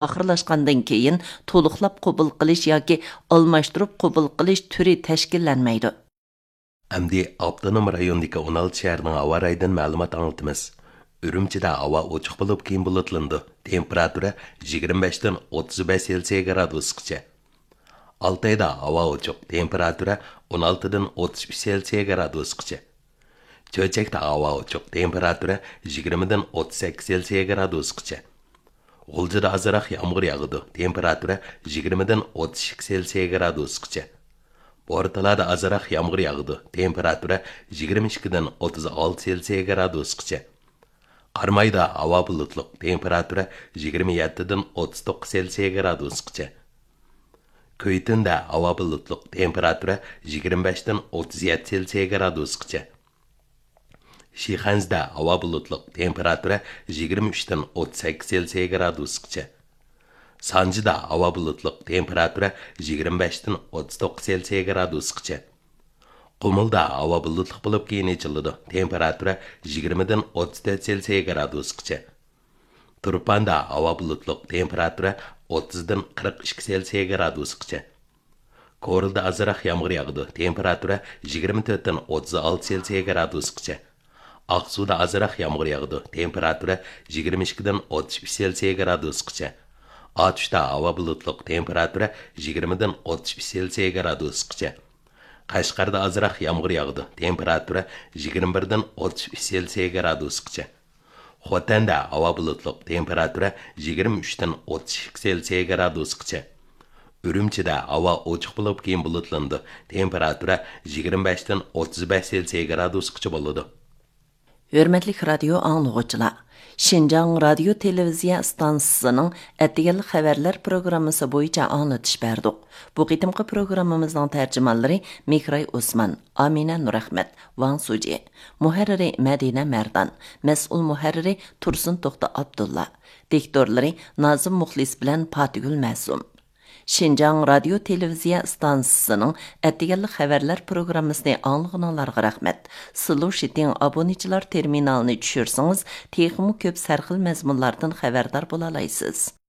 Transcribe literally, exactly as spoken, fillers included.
ئاخىرلاشقاندىن كېيىن تولۇقلاپ قوبۇل قىلىش ياكى ئالماشتۇرۇپ قوبۇل قىلىش تۈرى تەشكىللەنمەيدۇ. ئەمدى ئاپتونوم رايوندىكى ئون ئالتە شەھەرنىڭ ھاۋا رايىدىن مەلۇمات ئاڭلىتىمىز. ئۈرۈمچىدە ھاۋا ئوچۇق بولۇپ، كېيىن بۇلۇتلىنىدۇ. تېمپېراتۇرا يىگىرمە بەشتىن ئوتتۇز بەش سېلسىيە گرادۇسقىچە. ئالتايدا ھاۋا ئوچۇق، تېمپېراتۇرا ئون ئالتىدىن ئوتتۇز ئۈچ سېلسىيە گرادۇسقىچە. چۆچەكتە ھاۋا ئوچۇق، تېمپېراتۇرا يىگىرمىدىن ئوتتۇز سەككىز سېلسىيە گرادۇسقىچە. غۇلجىدا ئازراق يامغۇر ياغىدۇ، تېمپېراتۇرا يىگىرمىدىن ئوتتۇز ئىككى سېلسىيە گرادۇسقىچە. بورتالادا ئازراق يامغۇر ياغىدۇ، تېمپېراتۇرا يىگىرمە ئىككىدىن ئوتتۇز ئالتە سېلسىيە گرادۇسقىچە. قارامايدا ھاۋا بۇلۇتلۇق، تېمپېراتۇرا يىگىرمە يەتتىدىن ئوتتۇز توققۇز سېلسىيە گرادۇسقىچە. كۈيتۈندە ھاۋا بۇلۇتلۇق، تېمپېراتۇرا يىگىرمە بەشتىن ئوتتۇز يەتتە سېلسىيە گرادۇسقىچە. شىخەنزىدە ھاۋا بۇلۇتلۇق، تېمپېراتۇرا يىگىرمە ئۈچتىن ئوتتۇز سەككىز سېلسىيە گرادۇسقىچە. سانجىدا ھاۋا بۇلۇتلۇق، تېمپېراتۇرا يىگىرمە بەشتىن ئوتتۇز توققۇز سېلسىيە گرادۇسقىچە. قۇمۇلدا ھاۋا بۇلۇتلۇق بولۇپ، كېيىن ئېچىلىدۇ، تېمپېراتۇرا يىگىرمىدىن ئوتتۇز تۆت سېلسىيە گرادۇسقىچە. تۇرپاندا ھاۋا بۇلۇتلۇق، تېمپېراتۇرا ئوتتۇزدىن قىرىق ئىككى سېلسىيە گرادۇسقىچە. كورلىدا ئازراق يامغۇر ياغىدۇ، تېمپېراتۇرا يىگىرمە تۆتتىن ئوتتۇز ئالتە سېلسىيە گرادۇسقىچە. ئاقسۇدا ئازراق يامغۇر ياغىدۇ، تېمپېراتۇرا يىگىرمە ئىككىدىن ئوتتۇز ئۈچ سېلسىيە گرادۇسقىچە. ئاتۇشتا ھاۋا بۇلۇتلۇق، تېمپېراتۇرا يىگىرمىدىن ئوتتۇز ئۈچ سېلسىيە گرادۇسقىچە. قەشقەردە ئازراق يامغۇر ياغىدۇ، تېمپېراتۇرا يىگىرمە بىردىن ئوتتۇز ئۈچ سېلسىيە گرادۇسقىچە. خوتەندە ھاۋا بۇلۇتلۇق، تېمپېراتۇرا يىگىرمە ئۈچتىن ئوتتۇز ئىككى سېلسىيە گرادۇسقىچە. ئۈرۈمچىدە ھاۋا ئوچۇق بولۇپ، كېيىن بۇلۇتلىنىدۇ، تېمپېراتۇرا يىگىرمە بەشتىن ئوتتۇز بەش سېلسىيە گرادۇسقىچە بولىدۇ. ھۆرمەتلىك رادىيو ئاڭلىغۇچىلار، شىنجاڭ رادىيو تېلېۋىزىيە ئىستانسىسىنىڭ ئەتىگەنلىك خەۋەرلەر پروگراممىسى بويىچە ئاڭلىتىش بەردۇق. بۇ قېتىمقى پروگراممىمىزنىڭ تەرجىمانلىرى مىكراي ئوسمان، ئامىنە نۇرئەخمەت، ۋاڭ سۇجى، مۇھەررىرى مەدىنە مەردان، مەسئۇل مۇھەررىرى تۇرسۇن توختى ئابدۇللا، دىكتورلىرى نازىم مۇخلىس بىلەن پاتىگۈل مەسۇم. شىنجاڭ رادىيو تېلېۋىزىيە ئىستانسىسىنىڭ ئەتىگەنلىك خەۋەرلەر پروگراممىسىنى ئاڭلىغىنىڭلارغا رەھمەت. سىلۇشىتىڭ ئابۇنىچىلار تېرمىنالىنى چۈشۈرسىڭىز، تېخىمۇ كۆپ سەرخىل مەزمۇنلاردىن خەۋەردار بولالايسىز.